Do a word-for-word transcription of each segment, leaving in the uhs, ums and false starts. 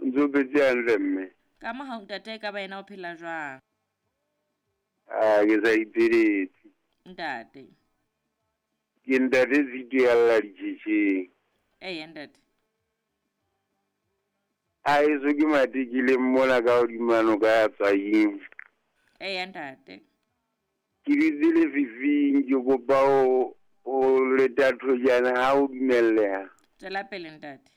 Ntse o phetse hantle mme. Ka mohau ntate e ka ba yena o phela jwang? Ah, ke sa ipheletse. Ntate. Ke ntate Tshito ya lla ditjhetjheng. Eya ntate. A eso ke matekileng mona ka hodima noka ya Tswaing. Eya ntate. Ke dutse lefifing ke kopa ho ho leta thojana ha o dumelleha. Tswela pele ntate.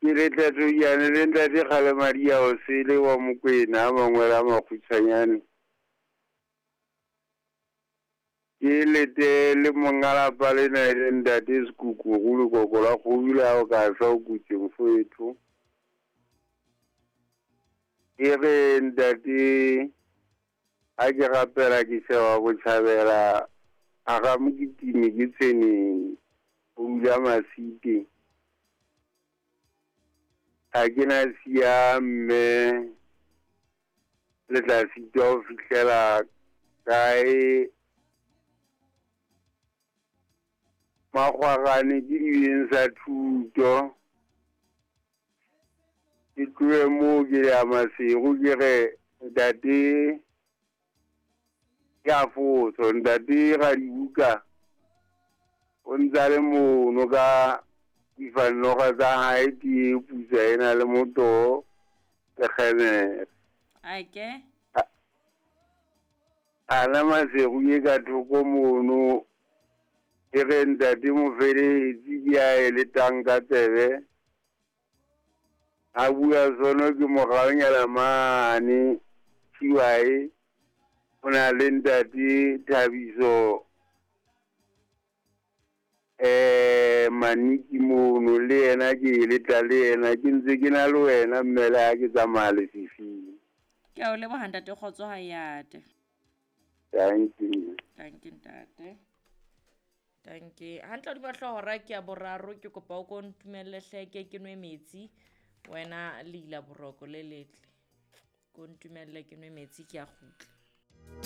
Ke leta thojana le ntate Kgalemadi ya Osele wa Mokwena a mangwele a makgutshwanyane. Ke lete le monga lapa lena e le ntate Sekukuru lekoko la kgodu le ha o ka shwa o kutse mfowetho. Ke re ntate ha ke rapela ke sheba botjhabela a ga mokitimi ke tshweneng ho dula Masite. Ha ke na siya mme le tla sitwa ho fihlela kae Makgwarane ke dibeng sa thuto. Ke tlohe moo ke ya Maseru ke re ntate ke a fotso ntate Radibuka o ntsa le mono ka difannoga tsa hae ke putsa ena le motoho le kgemere. Ake. Ana Maseru e ka thoko mono ke re ntate Mofeletsi ke a e letang ka tsebe. A bua sono ke moraonyana mane Chiwae o na le ntate Thabiso eh Maniki mono le yena ke e leta le yena ke ntse ke na le wena mme le ha ke tsamaya lefifing. Ke a o leboha ntate kgotso ha yate. Thank you. Thank you ntate. Thank you. Hantle hodima hlooho hora ke ya boraro ke kopa o ko ntumelle hleke ke nwe metsi wena le ila boroko le letle. Ko ntumelle ke nwe metsi ke a kgutla.